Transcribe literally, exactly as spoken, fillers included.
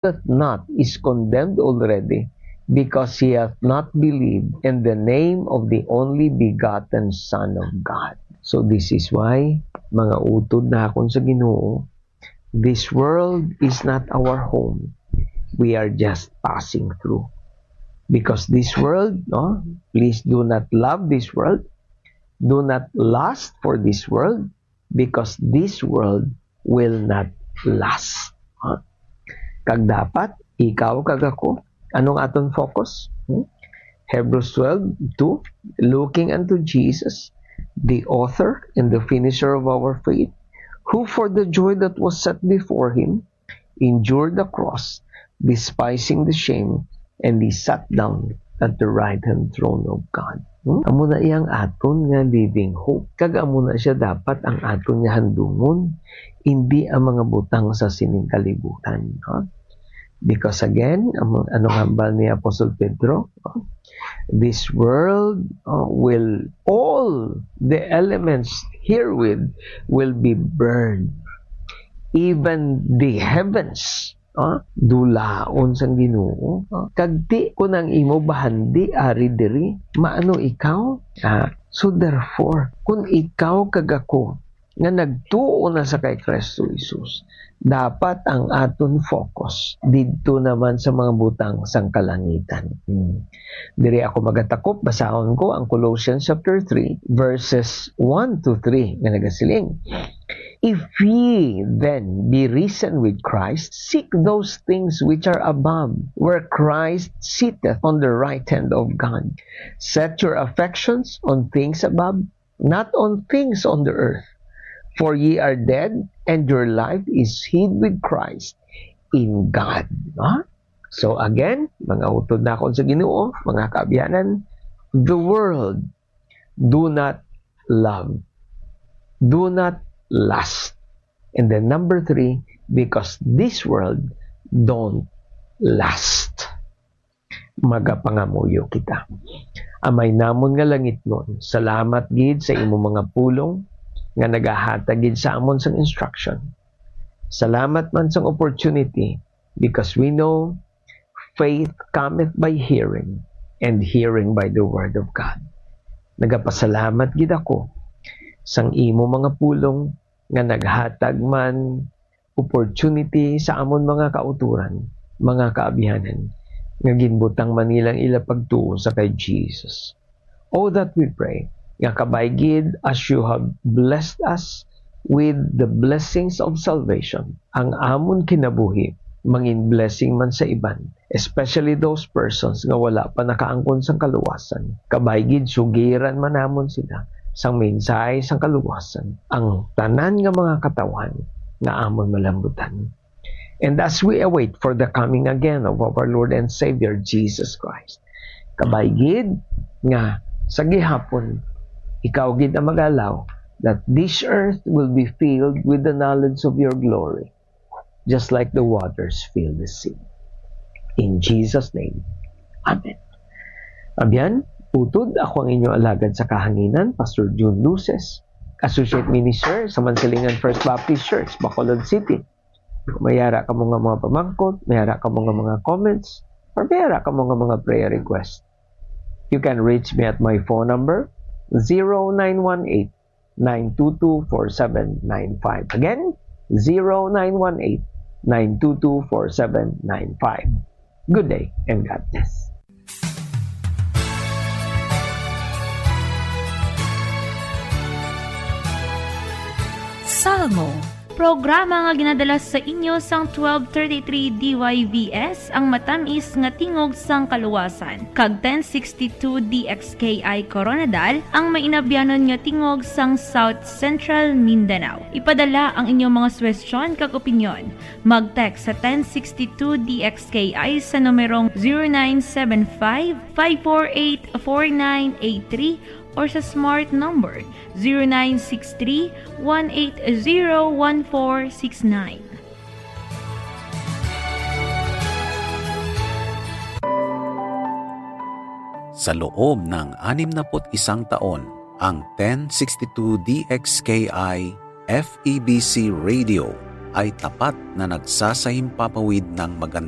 doth not is condemned already, because he hath not believed in the name of the only begotten Son of God. So this is why, mga utod na akon sa Ginoo, this world is not our home. We are just passing through. Because this world, no? Please do not love this world. Do not lust for this world, because this world will not last. Ha? Kag dapat, ikaw kag ako, anong aton focus? Hmm? Hebrews twelve two, looking unto Jesus, the author and the finisher of our faith, who for the joy that was set before him endured the cross, despising the shame, and he sat down at the right hand throne of God. Hmm? Amo na iyang aton nga living hope. Kag amo na siya dapat ang aton nga handumon, hindi ang mga butang sa sining kalibutan. Ha? Because again, amo, anong hambal ni Apostle Pedro? This world uh, will, all the elements herewith will be burned. Even the heavens, ah, dulaon sang Ginoo. Ah, kag ti kun ang imo bahandi ari diri, maano ikaw? Ah, so therefore, kun ikaw kag ako nga nagtuo na sa kay Kristo Jesus, dapat ang aton focus didto naman sa mga butang sang kalangitan. Hmm. Diri ako magatakop, basahon ko ang Colossians chapter three, verses one to three, nga nagasiling, "If ye then be risen with Christ, seek those things which are above, where Christ sitteth on the right hand of God. Set your affections on things above, not on things on the earth. For ye are dead, and your life is hid with Christ in God." Ha? So again, mga utod nakon sa Ginoo, mga kaabyanan, the world do not love. Do not lust. And then number three, because this world don't last. Magapangamuyo kita. Amay namon nga langitnon, salamat gid sa imo mga pulong nga nagahatag gid sa amon sang instruction. Salamat man sang opportunity, because we know faith cometh by hearing, and hearing by the word of God. Nagapasalamat gid ako sang imo mga pulong nga naghatag man opportunity sa amon mga kautoran, mga kaabyanan, nga ginbutang man nilang ila pagtuo sa kay Jesus. Oh, that we pray, nga kabay gid as you have blessed us with the blessings of salvation, ang amon kinabuhi mangin blessing man sa iban, especially those persons nga wala pa nakaangkon sang kaluwasan. Kabay gid sugiran man namon sila sang mensahe sang kaluwasan, ang tanan nga mga katawhan nga amon malambutan. And as we await for the coming again of our Lord and Savior Jesus Christ, kabay gid nga sa gihapon, ikaw gid ang mag-allow that this earth will be filled with the knowledge of your glory, just like the waters fill the sea. In Jesus' name, amen. Abyan, utod, ako ang inyo alagad sa kahanginan, Pastor Jun Luces, Associate Minister sa Mansilingan First Baptist Church, Bacolod City. Kung may ara kamo nga mga pamangkot, may ara kamo nga mga comments, or may ara kamo nga mga prayer request, you can reach me at my phone number, zero nine one eight, nine two two, four seven nine five. Again, zero nine one eight, nine two two, four seven nine five. Good day and God bless. Salmo, programa nga ginadala sa inyo sang twelve thirty-three D Y V S, ang matamis nga tingog sang kaluwasan, kag ten sixty-two D X K I Koronadal, ang mainabyanon nga tingog sang South Central Mindanao. Ipadala ang inyong mga suwestyon kag opinyon. Mag-text sa ten sixty-two D X K I sa numerong zero nine seven five, five four eight, four nine eight three or sa smart number zero nine six three, one eight zero, one four six nine. Sa loob ng anim na put isang taon, ang ten sixty-two D X K I F E B C Radio ay tapat na nagsasahimpapawid ng magandang